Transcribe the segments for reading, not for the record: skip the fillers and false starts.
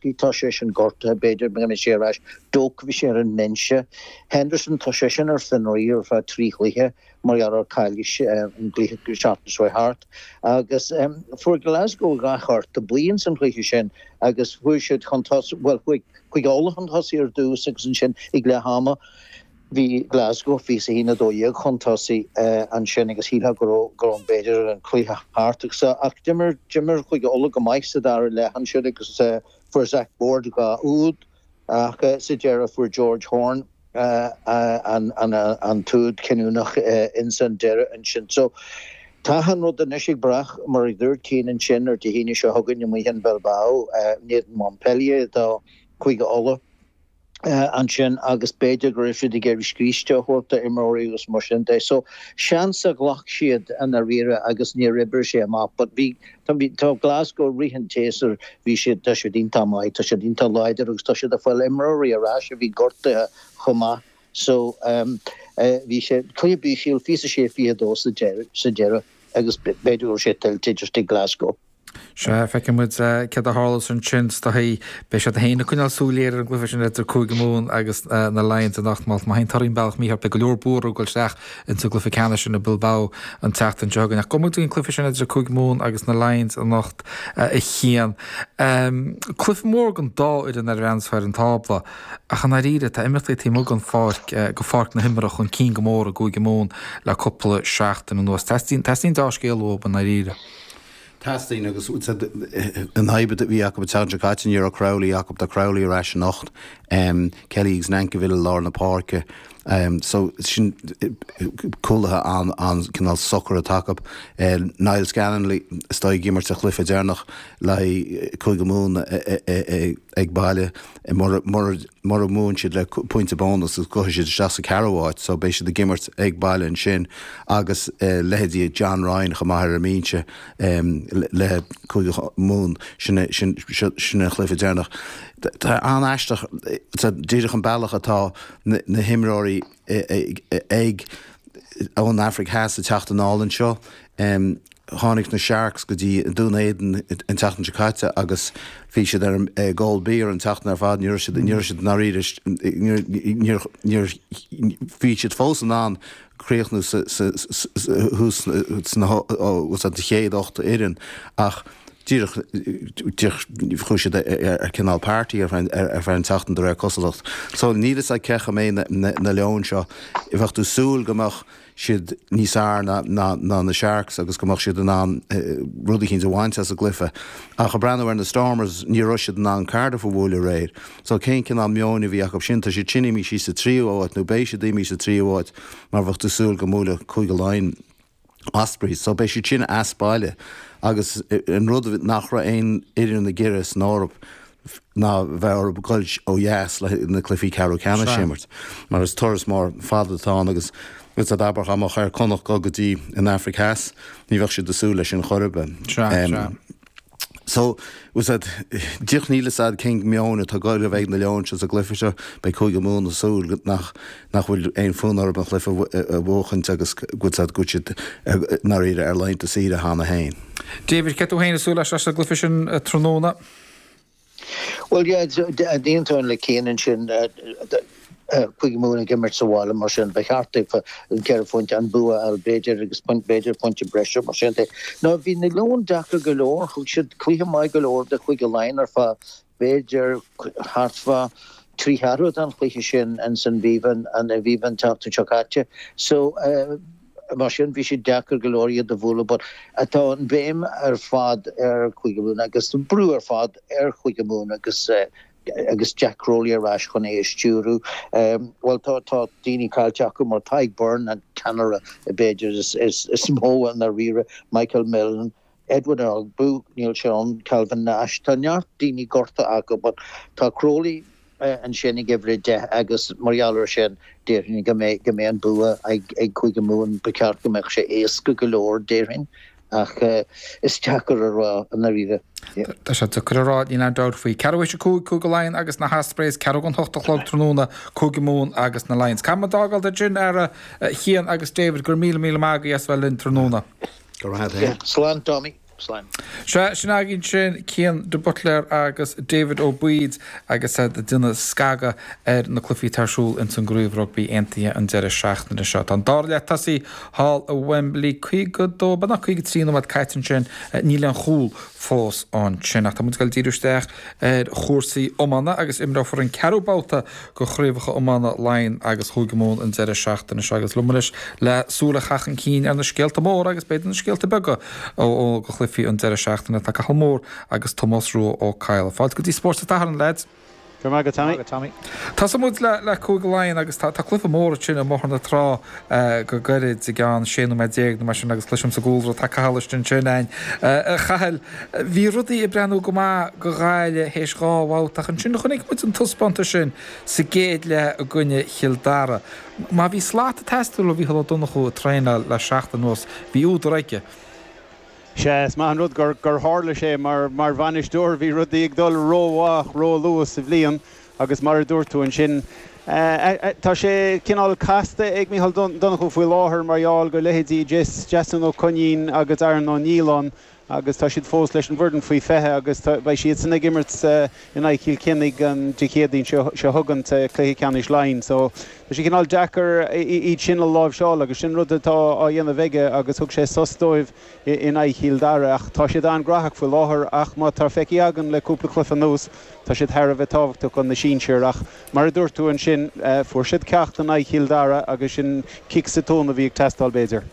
Tá sé sin gortaithe, b'fhéidir go mbeidh sé ar ais. Doak, bhí sé ar an mbinse. Henderson, tá sé sin ar fionraí ar feadh 3 chluiche mar gheall ar caillte an gcluiche an tseachtain seo thart. Agus fuair Glasgow 2 chárta buí ins an chluiche sin agus chuaigh siad chun tosaigh, bhuel chuaigh Cúige Uladh chun tosaigh ar dtús agus ansin ag leath ama bhí Glasgow 21, 12 chun tosaigh ansin agus shílfeá go raibh go raibh b'fhéidir an cluiche thart agus ach d'imir d'imir Cúige Uladh go maith sa dara leath ansin agus fuair Zach Board 2 úd ach sa deireadh fuair George Horne an an an t-úd cinniúnach ins an deireadh ansin. So tá an rud anois ag brath mar a dúirt Cian ansin ar Dé hAoine seo chugainn amuigh in Bilbao in éadan Montpellier do Chúige Uladh. ansin agus b'fhéidir go raibh siad ag iarraidh scríste a thabhairt d'imreoirí agus mar sin de. So, seans a ghlac siad i ndáiríre agus níor oibrigh sé amach but bhí, tá, tá Glasgow i rith an tséasúir, bhí siad, tá siad iontach maith, tá siad iontach láidir agus tá siad ag fáil imreoirí ar ais a bhí gortaithe chomh maith. So, bhí sé, cluiche bíseach, 26, 22 sa deireadh, sa deireadh agus b'fhéidir go raibh sé tuillte just ag Glasgow. Sea, feicfidh muid céard a tharlós ansin is dóigh. Beidh siad féin ag coinneáil súil ghéar ar an gcluiche sin idir Cúige Mumhan agus na Lions anocht. Má théann torthaí an bealach mícheart, beidh go leor buartha ag dul isteach ins an gcluiche ceannais sin i Bilbao an tseachtain seo chugainn. Ach gabhfaidh muid go dtí an cluiche sin idir Cúige Mumhan agus na Lions anocht, a Chian. Cluiche mór don dá fhoireann ar a bhreathnós ar an tábla. Ach i ndáiríre, tá imeachtaí taobh amuigh den pháirc, de pháirc na himeartha chun cinn go mór i gCúige Mumhan le cúpla seachtain anuas. Teastaíonn, teastaíonn deá-scéal uathu i ndáiríre. Teastaíonn agus an fhadhb a bhí acu an tseachtain seo caite, ní raibh Crowley acu, tá Crowley ar ais anocht, Kelly agus Nankivell i lár na páirce. So sin cúlaithe an-cineál socair atá acu. Niall Scannell is dóigh ag imirt sa chluiche deireanach le haghaidh Cúige Mumhan ag baile. Mura mbuann siad le pointe bónas gabhfaidh siad isteach sa ceathrú háit so beidh siad ag imirt ag baile ansin agus leithéidí John Ryan chomh maith ar an mbinse le Cúige Mumhan sin sin an chluiche deireanach. Tá an-aisteach díreach an bealach atá na himreoirí ag ón Afraic Theas ag teacht anall anseo. Tháinig na Sharks go dtí Dún Éideann an tseachtain seo caite agus bhí siad ar ag ól beer an tseachtain ar fad. Ní raibh siad, ní raibh siad i ndáiríre, níor, níor, bhí siad fós in ann críochnú sa, sa, thuas sna, sa chéad 8 fhoireann ach díreach, díreach chuaigh siad ar cineál party ar feadh, ar feadh an tseachtain de réir cosúlacht. So níl fhios a'd cén chaoi a mbeidh na, na leoin seo. Bheadh tú súil go mbeadh siad níos fearr ná na Sharks agus go mbeadh siad in ann rud eicínt a bhaint as an gcluiche. Ach ag breathnú ar na Stormers, ní raibh siad in ann Cardiff a bhualadh aréir. So cén cineál meoin a bhí acu sin? Tá siad sin imithe síos sa tríú háit nó beidh siad imithe sa tríú háit mar bheadh tú ag súil go mbuailfeadh Cúige Laighean Ospreys. So beidh siad sin as baile agus an rud nach raibh aon fhoireann ag iarraidh san Eoraip ná bheith orthu goil ó dheas le na cluichí ceathrú ceannais a imirt mar is turas mór fada atá ann agus is abair dá mbeadh ar Connacht dul go dtí an Afraic Theas ní bheadh siad ag súil leis sin chor ar bith. So, bhfuil 's a'd, díreach níl fhios a'd cén meon atá ag goil a bheith ag na Leoin seo sa gcluiche seo, beidh Cúige Mumhan ag súil nach nach bhfuil aon fhonn orthu an chluiche a bhuachaint agus go bhfuil 's a'd go bhfuil siad i ndáiríre ar laethanta saoire cheana féin. David, céard tú féin ag súil leis sa gcluiche sin tráthnóna? Bhuel, yeah, d'aontóinn le Cian ansin, Cúige Mumhan ag imirt sa bhaile mar sin, ba cheart daofa an ceithre phointe, an bua a fháil b'fhéidir agus b'fhéidir pointe breise mar sin de. Now bhí na Leoin deacair go leor, thug siad cluiche maith go leor do Chúige Laighean ar feadh b'fhéidir thart fá thrí cheathrú den chluiche sin ins an Aviva an Aviva an tseachtain seo caite. So, Mar sin, bhí sé deacair go leor iad a bhualadh but tá an bhéim ar fad ar Chúige Mumhan agus an brú ar fad ar Chúige Mumhan agus agus Jack Crowley ar ais chun é a stiúradh. Bhuel, tá tá daoine caillte acu mar Tadhg Beirne, an ceannaire b'fhéidir is is is mó i ndáiríre, Michael Milne, Edwin Edogbo, níl sé ann, Calvin Nash, tá neart daoine gortaithe acu but tá Crowley ansin ag uimhir 10 agus mar gheall ar sin déarfainn go mbeidh go mbeidh an bua ag ag Cúige Mumhan, ba cheart go mbeadh sé éasca go leor déarfainn ach is deacair a rá i ndáiríre. Tá sé deacair a rá, níl aon dabht faoi. Ceathrú théis 5, Cúige Laighean agus na hOspreys, ceathrú don hocht a chlog tráthnóna, Cúige Mumhan agus na Lions. Caithfidh muid fágáil ansin, a Chian agus David, go raibh míle míle maith agaibh as bheith linn tráthnóna. Go raibh maith agat. Slán Tommy. Slán. Sea, sin againn sin Cian de Buitléar agus David Ó Baoid agus iad ag déanamh scagadh ar na cluichí atá ar siúl ins an gCraobh Rugbaí Aontaithe an deireadh seachtaine seo. Tá an dara leath tosaithe thall i Wembley, 52, beagnach 53 nóiméad caite ansin, níl aon chúl fós ansin. Ach tá muid ag dul díriú isteach ar chúrsaí iomána agus imreofar an ceathrú babhta de chraobhacha iomána Laighean agus Chúige Mumhan an deireadh seachtaine seo agus liom anois le súil a chaitheamh chun cinn ar na scéalta móra agus b'fhéidir na scéalta beaga ó do chluichí an deireadh seachtaine tá Cathal Moore agus Tomás Rua Ó Cadhla. Fáilte go dtí Spórt an tSathairn, lads. Go raibh maith agat, Tommy. Tosóidh muid le Cúige Laighean agus tá cluiche mór ansin i mBóthar na Trá go gairid i gceann 16 nóiméad nó mar sin agus cloisim sa gcúlra tá Cathal istigh ansin againn. A Chathail, bhí rudaí ag breathnú go maith do Ghaillimh théis dhá bhabhta ach ansin chonaic muid an taispeántas sin sa gcéad leath i gcoinne Chill Dara. Má bhí slat ag teastáil ó Mhícheál Ó Donnchú ag traenáil le seachtain anuas, bhí údar aige. Sea, is maith an rud gur tharla sé. Mar bhainisteoir, bhí rudaí ag dul rómhaith róluath sa bhliain agus mar a dúirt tú ansin, tá sé cineál casta ag Micheál Donnchú faoi láthair mar gheall go leithéidí Jason Ó Coinín agus Aaron Ó Nialláin agus tá siad fós leis an bhfoireann faoi 20 agus beidh siadsan ag imirt in aghaidh Chill Chainnigh an Dé Céadaoin seo chugainn sa chluiche ceannais Laighean. So tá sé cineál deacair iad sin a láimhseáil agus sin rud atá á dhéanamh aige agus thug sé sos dóibh in aghaidh Chill Dara ach tá siad an-ghnóthach faoi láthair ach má tá feicthe againn le cúpla cluiche anuas tá siad thar a bheith tábhachtach do na sinsir ach mar a dúirt tú ansin fuair siad ceacht in aghaidh Chill Dara agus sin cic sa tóin a bhí ag teastáil b'fhéidir.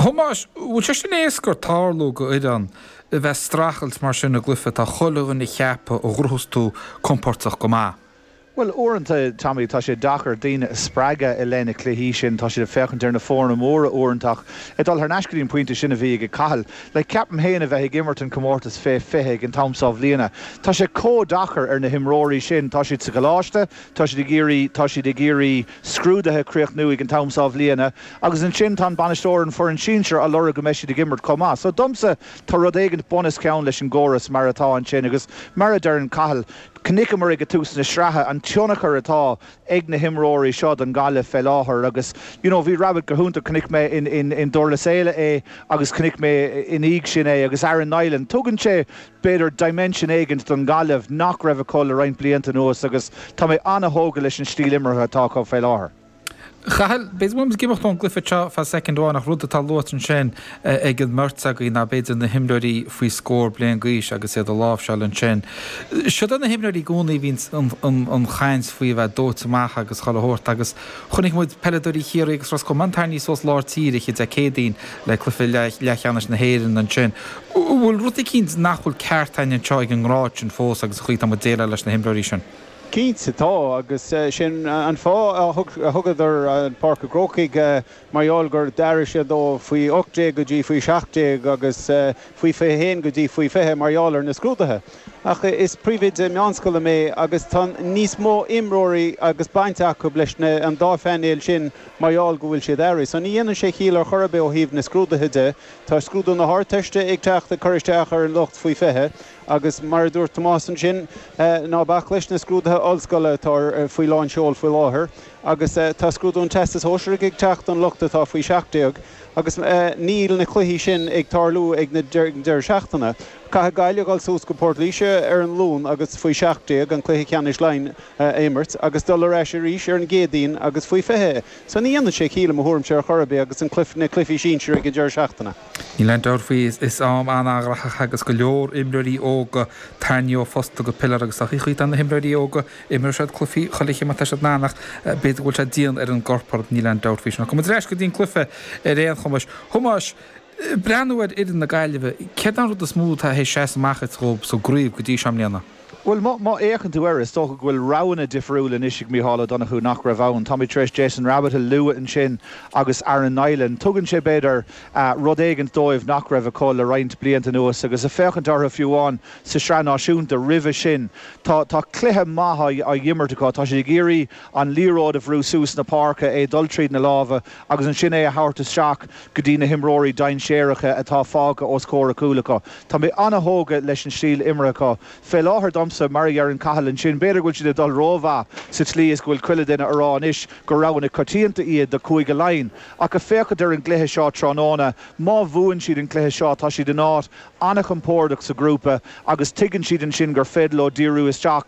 Thomáis, bhfuil sé sin éasca tarlú go fhoireann a bheith streachailt mar sin i gcluiche atá chuile dhuine a cheapadh a ghnóthós tú compóirteach go maith? Bhuel, uaireanta, Tommy, tá sé deacair daoine a spreagadh i leith na cluichí sin. Tá siad ag féachaint ar na foirne móra uaireanta ach ag dul thar n-ais go dtí an pointe sin a bhí ag Cathal, like, ceapaim féin a bheith ag imirt an comórtas fé 20 ag an t-am seo bhliana, tá sé chomh deacair ar na himreoirí sin. Tá siad sa choláiste, tá siad ag iarraidh, tá siad ag iarraidh scrúduithe a chríochnú ag an t-am seo bhliana agus ansin tá an bainisteoir, an foireann sinsir á lorg go mbeidh siad ag imirt chomh maith. So domsa, tá rud éigint bunoscionn leis an gcóras mar atá ansin agus mar a deireann Cathal, Chonaiceamar ag tús na sraithe an tionchar atá ag na himreoirí seo don Ghaillimh fé láthair agus you know bhí Rabbitte go hiontach, chonaic mé in in in Durlas Éile é agus chonaic mé ina dhiaidh sin é agus Aaron Niland. Tugann sé b'fhéidir dimension éigint don Ghaillimh nach raibh acu le roinnt blianta anuas agus tá mé an-thógtha leis an stíl imeartha atá acu fé láthair. Chathail, b'fhéidir go bhfuil muid ag imeacht ón gcluiche seo feadh soicind amháin ach rud atá luaite ansin ag an mbeirt agaibh ná b'fhéidir na himreoirí faoi scór bliain d'aois agus iad a láimhseáil ansin. Siod na himreoirí i gcónaí a bhíonn an chaint faoi a bheith dóite amach agus chuile shórt agus chonaic muid peileadóirí Chiarraí agus Ros Comáin tarraingthe suas lár tíre Dé Céadaoin le cluiche leathcheannais na hÉireann ansin. An bhfuil rud eicínt nach bhfuil ceart againn anseo ag an ngrád sin fós agus an chaoi atá muid déileáil leis na himreoirí sin? Cinnte tá, agus sin an fáth a thugadar an Páirc an Chrócaigh, mar gheall gur d'athraigh siad ó faoi 18 go dtí faoi 17 agus faoi 21 go dtí faoi 20 mar gheall ar na scrúduithe. Ach is príomhoide meánscoile mé agus tá níos mó imreoirí agus baint acu leis an dá phainéal sin mar gheall go bhfuil siad athraithe. So ní dhéanann sé chiall ar chor ar bith ó thaobh na scrúduithe de. Tá scrúdú na hArdteiste ag teacht ag cur isteach ar an lucht faoi 20. Agus mar a dúirt Tomás ansin, ná bac leis na scrúduithe ollscoile atá faoi lán seol faoi láthair agus tá scrúdú an Teastais Shóisearaigh ag teacht don lucht atá faoi 17 agus níl na cluichí sin ag tarlú ag na deireadh seachtaine. Caithfidh Gaillimh dul suas go Port Laoise ar an Luan agus faoi 17 an cluiche ceannais Laighean a imirt agus dul ar ais arís ar an gCéadaoin agus faoi 20. So ní dhéanann sé ciall i mo thuairimse ar chor ar bith agus na cluichí sinsir ag an deireadh seachtaine. Níl aon dabht faoi, is am an-ghnóthach agus go leor imreoirí óga tarraingthe ó phosta go piléar agus tá chuid de na himreoirí óga, imreoidh siad cluichí chuile chéim atá siad in ann ach b'fhéidir go bhfuil sé dian ar an gcorp orthu, níl aon dabht faoi sin. Ach gabhfaidh muid ar ais go dtí an cluiche ar aon chuma. Thomáis, breathnú ar fhoireann na Gaillimhe, céard é an rud is mó atá théis seasamh amach duit dhóibh sa gcraobh go dtí seo i mbliana? Bhuel, má fhéachann tú air, is dócha go bhfuil roghanna difriúla anois ag Micheál Ó Donnchú nach raibh ann. Táimid tar éis Jason Rabbitte a lua ansin agus Aaron Niland. Tugann sé, b'fhéidir, rud éigint dóibh nach raibh acu le roinnt blianta anuas agus ag féachaint orthu fiú amháin sa Sraith Náisiúnta roimhe sin, tá cluiche maith á imirt acu. Tá siad ag iarraidh an liathróid a bhrú suas na páirce, é dul tríd na lámha agus ansin é a thabhairt isteach go dtí na himreoirí dainséaracha atá fágtha os comhair a cúil acu. Tá mé an-thógtha leis an stíl imeartha acu. Fé láthair domsa. liomsa, mar a deireann Cathal ansin, b'fhéidir go bhfuil siad ag dul rómhaith sa tslí is go bhfuil chuile duine a rá anois gur roghanna coitianta iad do Chúige Laighean. Ach ag féachaint ar an gcluiche seo tráthnóna, má bhuann siad an cluiche seo tá siad in áit an-chompordach sa ghrúpa agus tuigeann siad ansin gur féidir leo díriú isteach.